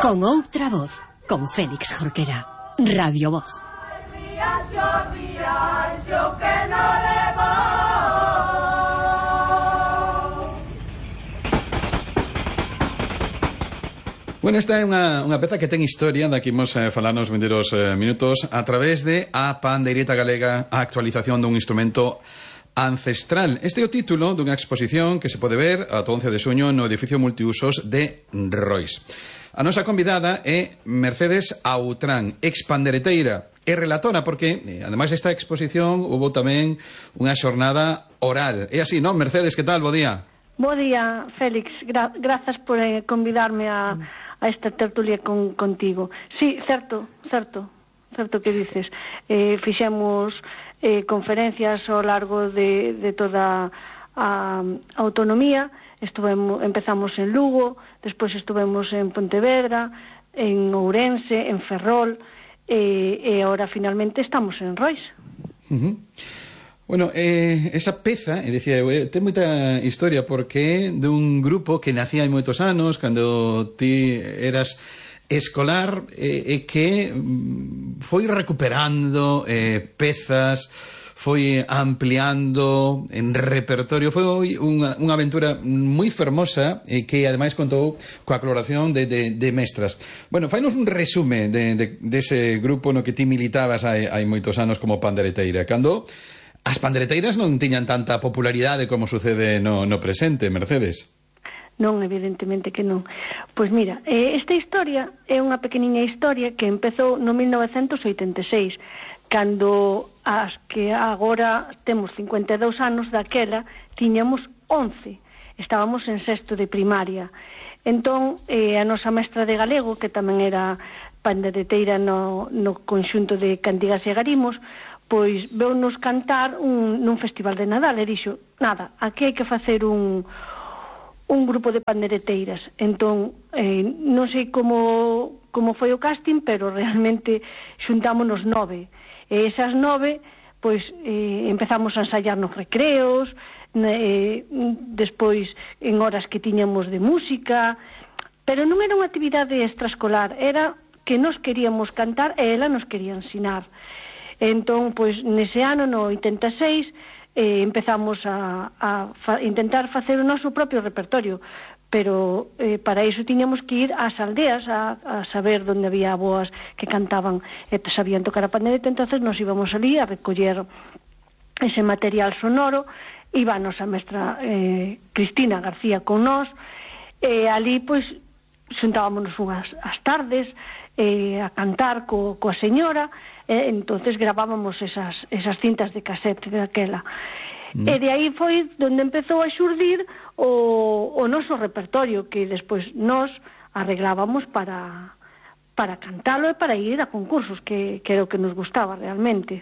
Con outra voz, con Félix Jorquera. Radio Voz. Bueno, esta é unha peza que ten historia, da que imos falar nos vindeiros minutos a través de a pandeireta galega, a actualización dun instrumento ancestral. Este é o título dunha exposición que se pode ver ata 11 de xuño no edificio multiusos de Rois. A nosa convidada é Mercedes Autrán, expandereteira e relatora, porque, ademais desta exposición, hubo tamén unha xornada oral. É así, non, Mercedes? Que tal? Bo día. Bo día, Félix. Grazas por convidarme a esta tertulia contigo. Sí, certo que dices. Fixemos conferencias ao largo de toda a autonomía. Empezamos en Lugo, despois estivemos en Pontevedra, en Ourense, en Ferrol, e agora finalmente estamos en Rois. Bueno, esa peza, decía eu, ten moita historia porque é dun grupo que nacía hai moitos anos, cando ti eras escolar, e que foi recuperando pezas, foi ampliando en repertorio. Foi unha aventura moi fermosa e que ademais contou coa colaboración de mestras. Bueno, fainos un resume dese grupo no que ti militabas hai moitos anos como pandereteira, cando as pandereteiras non tiñan tanta popularidade como sucede no presente, Mercedes. Non, evidentemente que non. Pois mira, esta historia é unha pequeniña historia que empezou no 1986, cando as que agora temos 52 anos daquela tiñamos 11. Estábamos en sexto de primaria. Entón, a nosa mestra de galego, que tamén era pandereteira no conxunto de cantigas e garimos, pois veu-nos cantar nun festival de Nadal e dixo, nada, aquí hai que facer un grupo de pandereteiras. Entón, non sei como foi o casting, pero realmente xuntámonos 9. E esas 9, pois, empezamos a ensayar nos recreos, despois en horas que tiñamos de música, pero non era unha actividade extraescolar, era que nos queríamos cantar e ela nos quería ensinar. Entón, pois, nese ano, no 86, empezamos a intentar facer o noso propio repertorio, pero para iso tiñamos que ir ás aldeas a saber onde había aboas que cantaban e sabían tocar a pandereta. Entonces nos íbamos ali a recoller ese material sonoro. Iba a nosa mestra Cristina García con nós, e ali, pois, xuntábamos as tardes a cantar coa señora. Entonces gravábamos esas cintas de casete daquela. E de aí foi onde empezou a xurdir o noso repertorio, que despois nós arreglábamos para cantalo e para ir a concursos, que era o que nos gustaba realmente.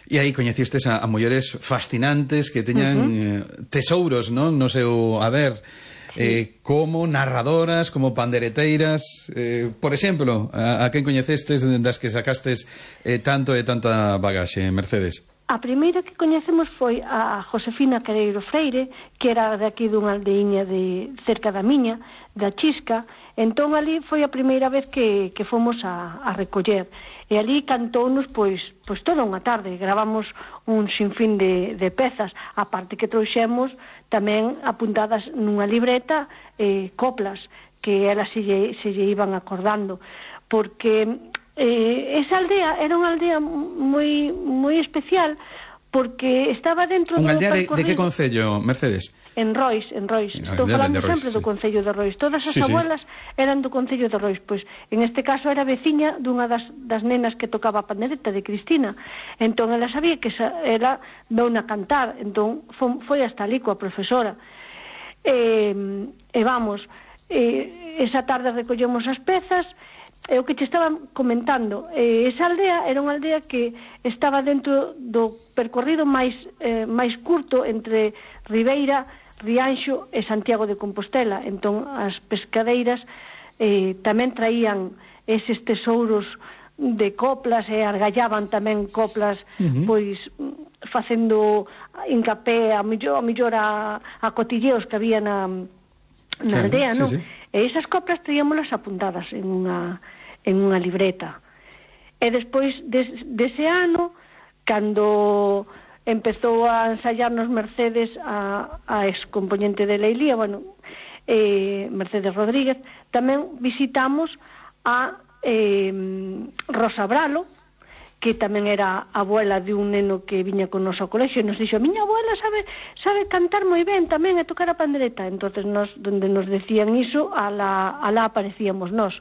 E aí coñecistes a mulleres fascinantes que teñan tesouros, non, no seu haber, como narradoras, como pandereteiras. Por exemplo, a quen coñecestes das que sacastes tanto e tanta bagaxe, Mercedes? A primeira que coñecemos foi a Josefina Quereiro Freire, que era de aquí dunha aldeiña de cerca da miña, da Chisca. Entón ali foi a primeira vez que fomos a recoller, e ali cantounos pois toda unha tarde. Gravamos un sinfín de pezas, aparte que trouxemos tamén apuntadas nunha libreta coplas que elas se lle iban acordando, porque esa aldea era unha aldea moi especial, porque estaba dentro unha aldea de que concello, Mercedes? En Rois. Estou falando sempre do concello de Rois. Todas as abuelas eran do concello de Rois. Pois, en este caso, era veciña dunha das nenas que tocaba a pandereta, de Cristina. Entón, ela sabía que ela veuna cantar. Entón, foi hasta ali coa profesora. Vamos, esa tarde recollemos as pezas. O que te estaba comentando, esa aldea era unha aldea que estaba dentro do percorrido máis curto entre Ribeira, Rianxo e Santiago de Compostela. Entón as pescadeiras tamén traían eses tesouros de coplas e argallaban tamén coplas, pois facendo hincapé a mellor a cotilleos que había na aldea, non? Sí. E esas coplas traíamolas apuntadas en unha libreta. E despois dese ano, cando empezou a ensayarnos Mercedes, a excomponente de Leilía, bueno, Mercedes Rodríguez, tamén visitamos a Rosa Bralo, que tamén era abuela de un neno que viña con nos ao colexio, e nos dixo: miña abuela sabe cantar moi ben tamén e tocar a pandereta. Entonces nos, donde nos decían iso, alá aparecíamos nós.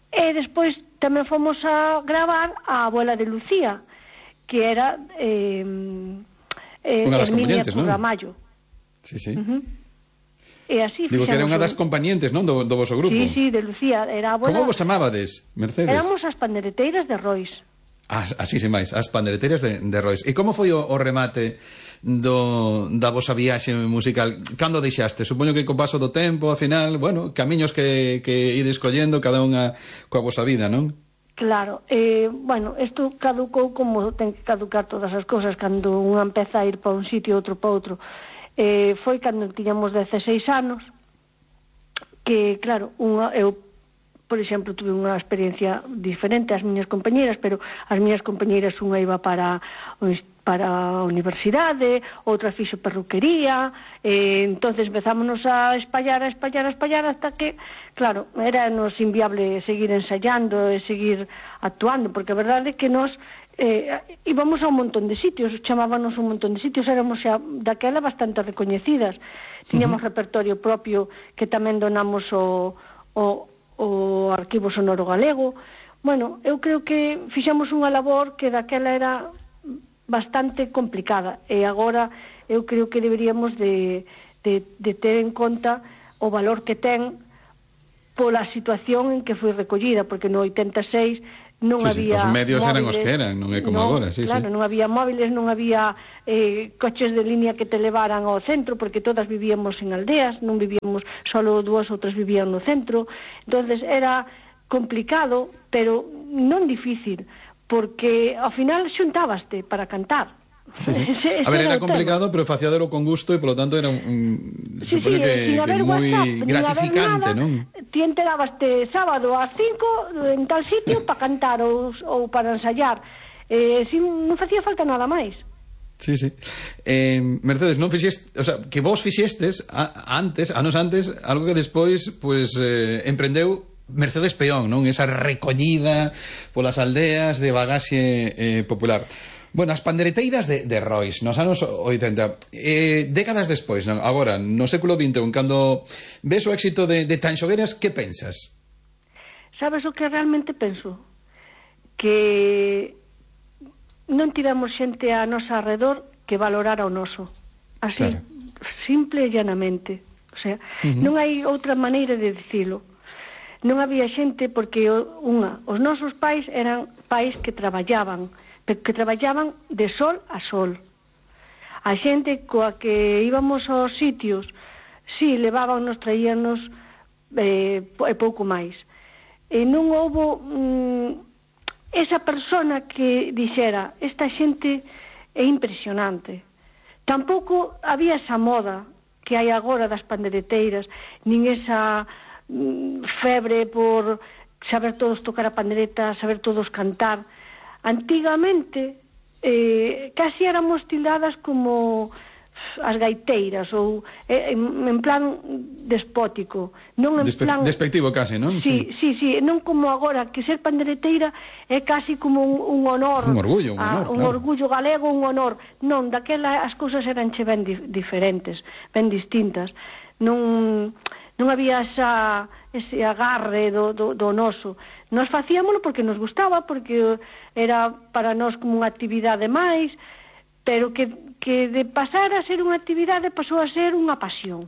E despois tamén fomos a gravar a abuela de Lucía, que era Herminia Turramallo. Sí, sí. E así digo que era unha das compañentes, non, do voso grupo. Sí, de Lucía, era a abuela. Como vos chamabades, Mercedes? Éramos as pandereteiras de Rois. Así se máis, as pandereteiras de Rois. E como foi o remate da vosa viaxe musical? Cando deixaste? Supoño que co paso do tempo, ao final, bueno, camiños que ides collendo cada unha coa vosa vida, non? Claro, bueno, isto caducou como ten que caducar todas as cousas, cando unha empeza a ir para un sitio e outro para outro. Foi cando tiñamos 16 anos que, claro, eu, por exemplo, tuve unha experiencia diferente ás miñas compañeiras, pero as miñas compañeiras unha iba para a universidade, outra fixo perruquería, entonces empezámonos a espallar hasta que, claro, era nos inviable seguir ensayando e seguir actuando, porque a verdade é que nos íbamos a un montón de sitios, chamábanos un montón de sitios, éramos xa daquela bastante recoñecidas, tiñamos repertorio propio que tamén donamos o Arquivo Sonoro Galego. Bueno, eu creo que fixamos unha labor que daquela era bastante complicada, e agora eu creo que deberíamos de ter en conta o valor que ten pola situación en que foi recollida, porque no 86 non había os medios móviles, eran os que eran, non é como agora. Claro, non había móviles, non había coches de línea que te levaran ao centro, porque todas vivíamos en aldeas, non vivíamos, solo 2 ou 3 vivían no centro. Entonces era complicado, pero non difícil, porque ao final xuntábaste para cantar. Sí. A ver, era complicado, pero facíadelo con gusto e, polo tanto, era supoño que moi gratificante, non? Ti enterabaste sábado ás 5 en tal sitio para cantar ou para ensayar. Non facía falta nada máis. Sí. Mercedes, non fixeste, o sea, que vos fixestes anos antes, algo que despois pues emprendeu Mercedes Peón, non? Esa recollida polas aldeas de bagaxe popular. Bueno, as pandereteiras de Rois nos anos 80, décadas despois, non? Agora, no século XXI, cando ves o éxito de Tanxogueras, que pensas? Sabes o que realmente penso? Que non tivemos xente a nosa alrededor que valorara o noso. Así, claro. Simple e llanamente. O sea, non hai outra maneira de dicilo. Non había xente porque, os nosos pais eran pais que traballaban de sol a sol. A xente coa que íbamos aos sitios, si levábanos, traíanos e pouco máis. E non houbo esa persona que dixera: esta xente é impresionante. Tampouco había esa moda que hai agora das pandereteiras, nin esa febre por saber todos tocar a pandereta, saber todos cantar. Antigamente casi éramos tildadas como as gaiteiras, ou en plan despótico, non en plan despectivo case, non? Sí, non como agora, que ser pandereteira é casi como un honor, un orgullo, un orgullo galego, un honor. Non, daquela as cousas eranche ben diferentes, ben distintas. Non había ese agarre do noso. Nos facíamolo porque nos gustaba, porque era para nós como unha actividade máis, pero que de pasar a ser unha actividade pasou a ser unha pasión.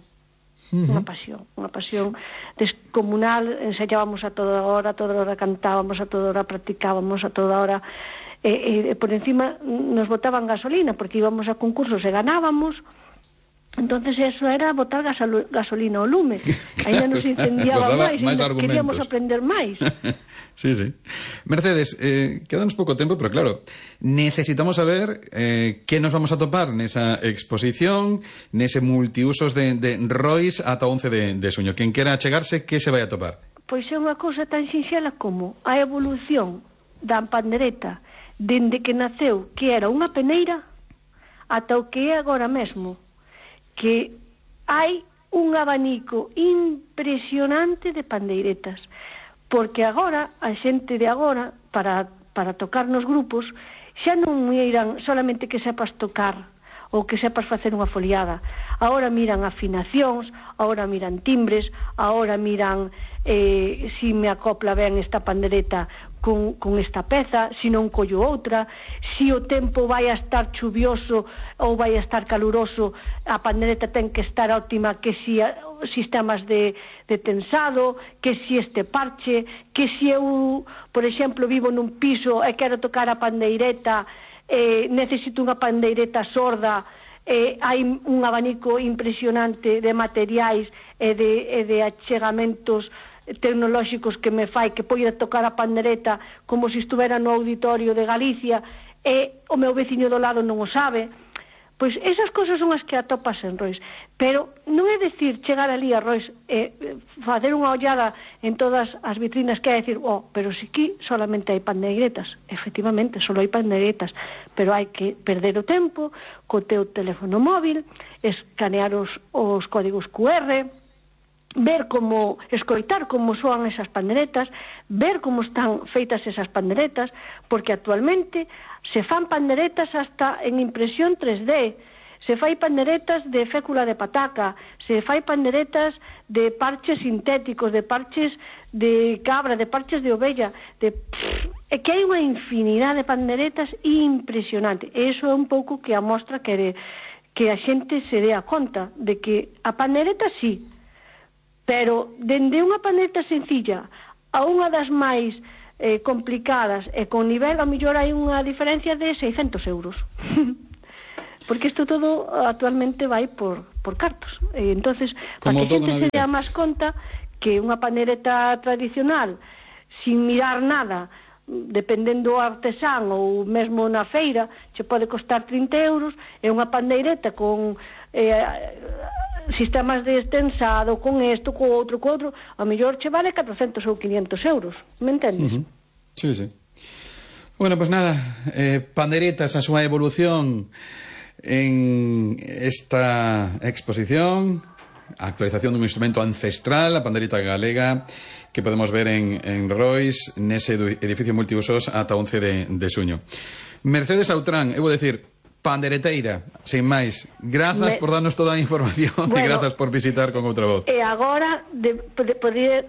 Unha pasión descomunal. Ensayábamos a toda hora cantábamos, a toda hora practicábamos, a toda hora por encima nos botaban gasolina, porque íbamos a concursos e ganábamos. Entonces eso era botar gasolina ao lume. Ainda nos incendiaba máis queríamos aprender máis. Sí, sí. Mercedes, quedanos pouco tempo, pero claro, necesitamos saber que nos vamos a topar nesa exposición, nese multiusos de Rois ata 11 de suño. Quen quera achegarse, que se vai a topar? Pois é unha cousa tan sinxela como a evolución da pandereta dende que naceu, que era unha peneira, ata o que é agora mesmo, que hai un abanico impresionante de pandeiretas, porque agora, a xente de agora, para tocar nos grupos, xa non miran solamente que sepas tocar ou que sepas facer unha foliada. Agora miran afinacións, agora miran timbres, agora miran si me acopla ben esta pandereta con esta peza, si non collo outra, si o tempo vai a estar chuvioso ou vai a estar caluroso, a pandereta ten que estar óptima, que si sistemas de tensado, que si este parche, que si eu, por exemplo, vivo nun piso e quero tocar a pandeireta, necesito unha pandeireta sorda, hai un abanico impresionante de materiais e de achegamentos tecnolóxicos que me fai que poida tocar a pandereta como se estuvera no auditorio de Galicia e o meu veciño do lado non o sabe. Pois esas cousas son as que atopas en Rois, pero non é dicir chegar ali a Rois e facer unha ollada en todas as vitrinas que é dicir, pero si aquí solamente hai pandeiretas. Efectivamente, só hai pandeiretas, pero hai que perder o tempo co teu teléfono móvil, escanear os códigos QR, ver como, escoitar como soan esas panderetas, ver como están feitas esas panderetas, porque actualmente se fan panderetas hasta en impresión 3D, se fai panderetas de fécula de pataca, se fai panderetas de parches sintéticos, de parches de cabra, de parches de ovella, é que hai unha infinidad de panderetas impresionante, e iso é un pouco que amostra que a xente se dé a conta de que a pandereta sí, pero dende unha pandereta sencilla a unha das máis complicadas e con nivel, a mellor hai unha diferencia de 600 euros. Porque isto todo actualmente vai por cartos. Entonces, para que a xente se dea máis conta que unha pandereta tradicional, sin mirar nada, dependendo do artesán ou mesmo na feira, che pode costar 30 euros, e unha pandeireta con sistemas de estensado, con isto, co outro, a mellor che vale 400 ou 500 euros, me entendes? Sí, sí. Bueno, pues nada, pandeiretas, a súa evolución en esta exposición, a actualización dun instrumento ancestral, a pandeireta galega, que podemos ver en Rois, nese edificio multiusos ata 11 de suño. Mercedes Autrán, eu vou decir, pandereteira, sin máis. Grazas por darnos toda a información, e grazas por visitar con outra voz. E agora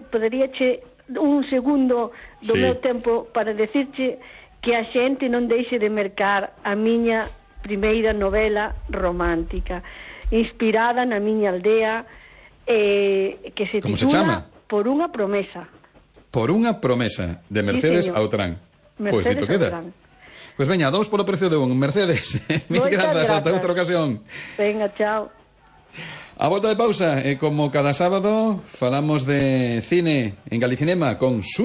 poderíache un segundo do meu tempo para decirche que a xente non deixe de mercar a miña primeira novela romántica, inspirada na miña aldea, que se titula Por unha promesa. Por unha promesa, de Mercedes Autrán. Pois dito queda. Pois veña, 2 polo precio de un. Mercedes, mil grazas, ata outra ocasión. Venga, chao. A volta de pausa, como cada sábado, falamos de cine en Galicinema con